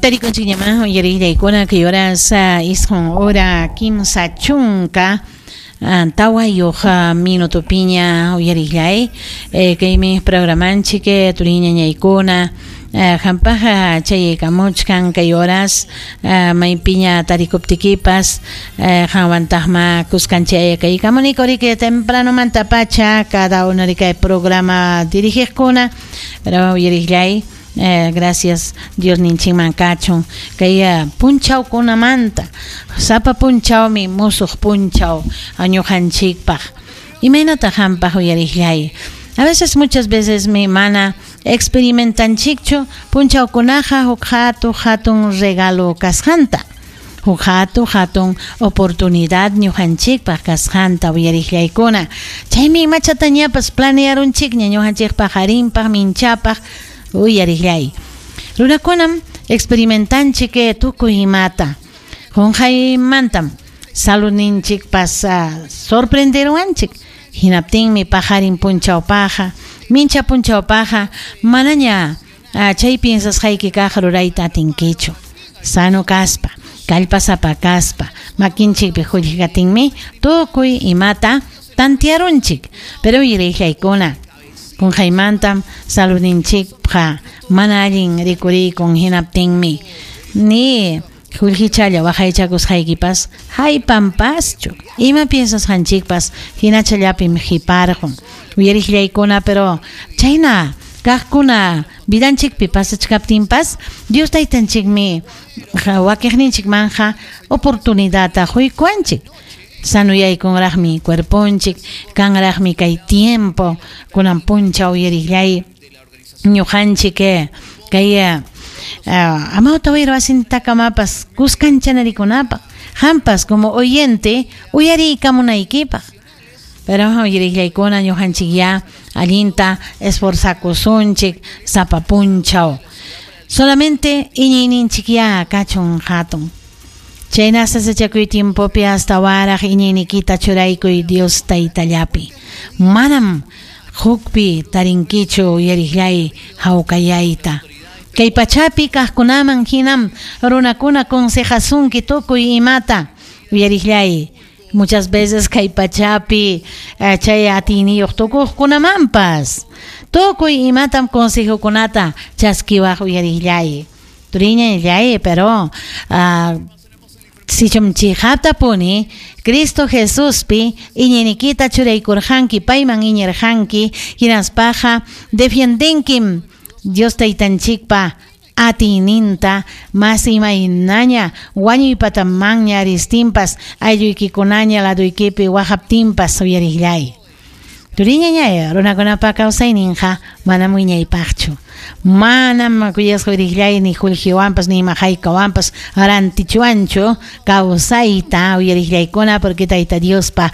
Tarikunchikñamá uyariqllaykuna kay horas 9 hora 30 4 minutopiña uyariqllay kaymi programanchik turiñañaykuna hampaq chayaykamuchkan kay horas maypiña tarikuptikipas qanwantaqma kuskanchik kaykamuniku riki tempranomantapacha cada uno riki programa dirigiqkuna pero uyariqllay gracias Dios ninchikman kachun kay punchawkunamanta sapa punchawmi musuq punchaw ñuqanchikpaq imaynataq hampaq uyariqllay a veces muchas veces mi mana experimentanchikchu punchawkunaqa huk hatun regalo kasqanta huk hatun oportunidad ñuqanchikpaq kasqanta uyariqllaykuna chaymi imachatañapas planearunchikña ñuqanchikpaq harinpaq minchapaq uyariqllay runakunam experimentanchik tukuy imata qunqaymantam saludninchikpas sorprenderuwanchik hinaptinmi paqarin punchawpaqa mincha punchawpaqa manaña chay piensasqayki kaq rurayta atinkichu sano kaspa kallpasapa kaspa makinchikpi qullqikatinmi tukuy imata tantiarunchik pero uyariqllaykuna qunqaymantam saludninchikqa mana allin rikurikun hinaptinmi ni qullqichalla waqaychakusqaykipas haypanpaschu ima piensasqanchikpas hinachallapim qiparqun uyariqllaykuna pero chayna kaqkuna vidanchikpi pasachkaptinpas Dios taytanchikmi wakiqninchikmanja oportunidadta quykuwanchik sanuyaykunraqmi cuerponchik kanraqmi kay tiempo kunan punchaw uyariqllay ñuqanchik kay amawta wayra wasintakamapas kuskanchanarikunapaq hampas como oyente uyariykamunaykipaq pero uyariqllaykuna ñuqanchik ya allinta esforzakusunchik sapa punchaw solamente iñiyninchik ya kachun hatun chayna sasachakuy tiempopi hasta waraq iñiynikita churaykuy Dios taytallapi manam hukpi tarinkichu uyariqllay hawkayayta kay pachapi kaqkunaman hinam runakuna consejasunki tukuy imata uyariqllay muchas veces kay pachapi chay atiyniyuq tukuqkunamanpas tukuy imatam consejokunata chaskiwaq uyariqllay turiñallay pero sichum chiqaptapuni Cristo Jesuspi iñiynikita churaykurqanki payman iñirqanki hinaspaqa defiendenkim Dios taytanchikpa atiyninta mas imaynaña wañuypatamanña ristinpas aylluykikunaña laduykipi waqaptinpas uyariqllay turiñañay runakunapa kawsayninqa manam wiñaypaqchu manam kuyasqa uyariqllay ni qullqiwanpas ni ima haykawanpas rantichuwanchu kawsayta uyariqllaykuna porque Tayta Diospa